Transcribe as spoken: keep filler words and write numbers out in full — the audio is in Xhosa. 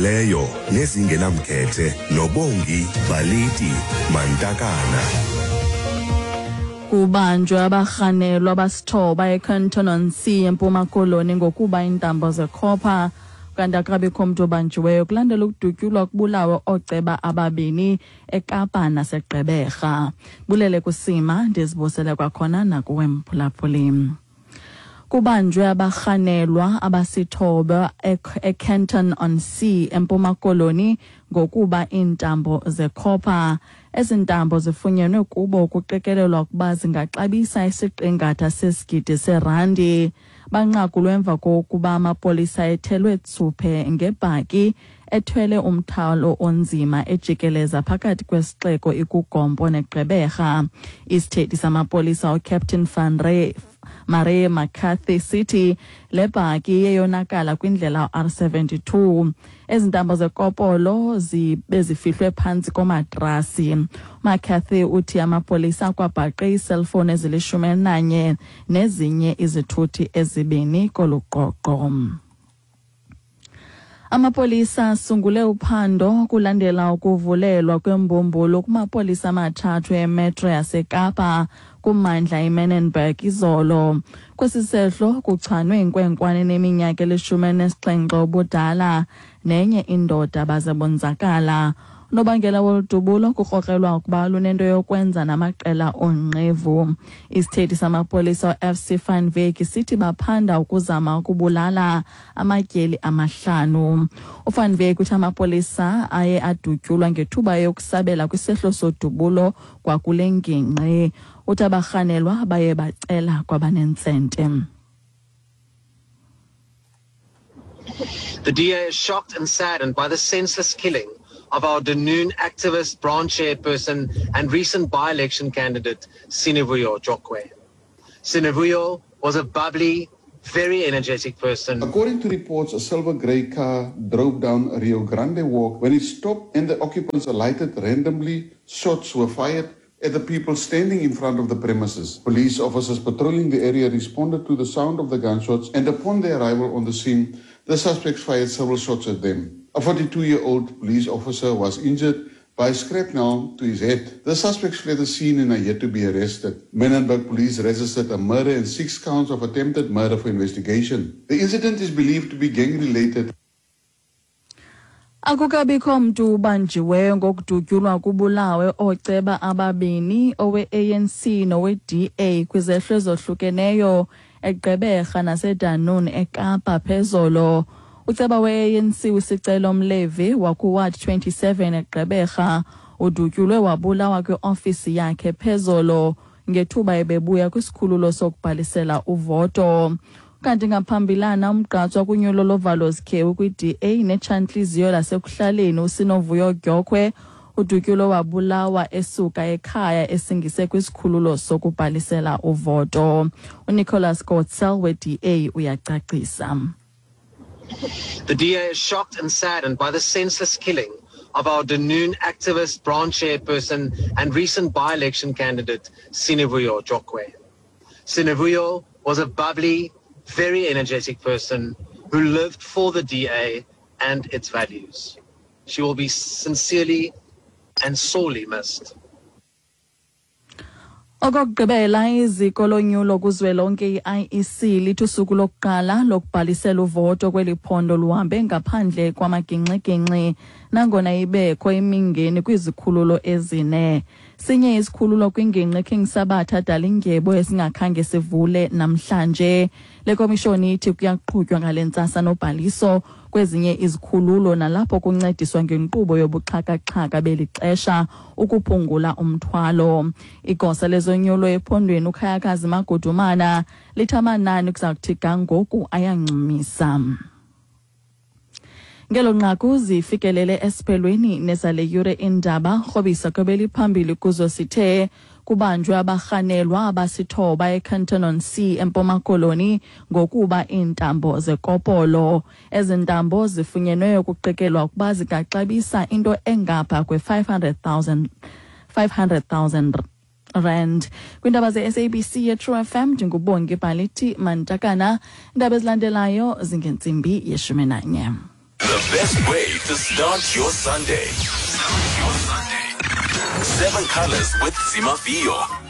Ezizimeleyo nezingenamkhethe noBongi Baliti Mantakana. Kubanjwe abarhanelwa abasithoba eCanton-on-Sea eMpuma Koloni ngokuba iintambo zekhopha, kanti akukabikho mntu obanjiweyo kulandela ukudutyulwa kubulawe ooceba ababini eKapa naseGqeberha. Bulele kusima, ndizibusele kwakhona nakuwe mphulaphuli. Kubanjwe abarhanelwa abasithoba eCanton-on-Sea eMpuma Koloni ngokuba iintambo zekhopha. Ezi ntambo zifunyenwe kubo kuqikelelwa ukuba zingaxabisa isiqingatha sesigidi serandi. Banqakulwe emva kokuba amapolisa ethelwe tsuphe ngebhaki ethwele umthwalo onzima ejikeleza phakathi kwesixeko iKuGompo neGqeberha. Isithethi samapolisa uCaptain Van Rey Marie McCarthy sithi le bhaki iyeyonakala kwindlela R seventy-two. Ezi ntambo zekopolo bezifihlwe phantsi komatrasi. McCarthy uthi amapolisa akwabhaqe iiselfowuni ezilishumi elinanye nezinye izithuthi ezibini kolu qoqo. Amapolisa asungule uphando kulandela ukuvulelwa kwembumbulu kumapolisa amathathu emetro yaseKapa kummandla iManenberg izolo. Kwesi sehlo kuchanwe inkwenkwana eneminyaka elishumi elinesixhenxe ubudala nenye indoda baze bonzakala. Unobangela woludubulo kukrokrelwa ukuba lunento yokwenza namaqela oonqevu. Isithethi samapolisa u-F C Van Wyk sithi baphanda ukuzama ukubulala amatyeli amahlanu. UVan Wyk uthi amapolisa aye adutyulwa ngethuba yokusabela kwisehlo sodubulo kwakule ngingqi. Uthi abarhanelwa baye bacela kwabanentsente. The D A is shocked and saddened by the senseless killing of our Dunoon activist, branch chairperson and recent by-election candidate, Sinovuyo Jokwe. Sinovuyo was a bubbly, very energetic person. According to reports, a silver grey car drove down Rio Grande Walk. When it stopped and the occupants alighted randomly, shots were fired at the people standing in front of the premises. Police officers patrolling the area responded to the sound of the gunshots, and upon their arrival on the scene, the suspects fired several shots at them. A forty-two-year-old police officer was injured by shrapnel to his head. The suspects fled the scene and are yet to be arrested. Manenberg police registered a murder and six counts of attempted murder for investigation. The incident is believed to be gang-related. Akukabikho mntu ubanjiweyo ngokudutyulwa kubulawe ooceba ababini, owe-A N C nowe-D A kwizehlo ezohlukeneyo eGqeberha naseDunoon eKapa phezolo. Uceba we-A N C uSicelo Mlevi wakuWard twenty-seven eGqeberha udutyulwe wabulawa kwiofisi yakhe phezolo ngethuba ebebuya kwisikhululo sokubhalisela uvoto. Kanti ngaphambilana umgqatswa kunyulo lovalo zikhewu kwi-D A netshantliziyo lasekuhlaleni uSinovuyo Dyokwe udutyulwe wabulawa esuka ekhaya esingise kwisikhululo sokubhalisela uvoto. UNicholas Gotzel we-D A uyacacisa. The D A is shocked and saddened by the senseless killing of our Dunoon activist, branch chairperson and recent by-election candidate, Sinovuyo Jokwe. Sinovuyo was a bubbly, very energetic person who lived for the D A and its values. She will be sincerely and sorely missed. Okokugqibela, iziko lonyulo kuzwelonke i-I E C lithi usuku lokuqala lokubhalisela uvoto kweli phondo luhambe ngaphandle kwamagingxigingxi nangona ibekho imingeni kwizikhululo ezine. Sinye isikhululo kwingingqi King Sabatha Dalindyebo esingakhange sivule namhlanje. Le komishoni ithi kuyaqhutywa ngale ntsasa nobhaliso kwezinye izikhululo nalapho kuncediswa ngenkqubo yobuxhakaxhaka beli xesha ukuphungula umthwalo. Igosa lezonyulo ephondweni uKhayakazi Magudumana lithi amanani kuza kuthi ga ngoku ayancumisa. Ngelo nqaku zifikelele esiphelweni nezale yure indaba rhobisa kwebeliphambili kuzo sithe kubanjwe abarhanelwa abasithoba eCanton-on-Sea eMpuma Koloni ngokuba iintambo zekopolo. Ezi ntambo zifunyenweyo kuqikelwa ukuba zingaxabisa into engapha kwe-five hundred thousand, five hundred thousand rand. Kwiindaba ze-S A B C ye-True F M ndinguBongi Bhalithi Mantakana. Iindaba ezilandelayo zingentsimbi yeshumi nanye. The best way to start your Sunday. Start your Sunday. Seven Colors with Zimafio.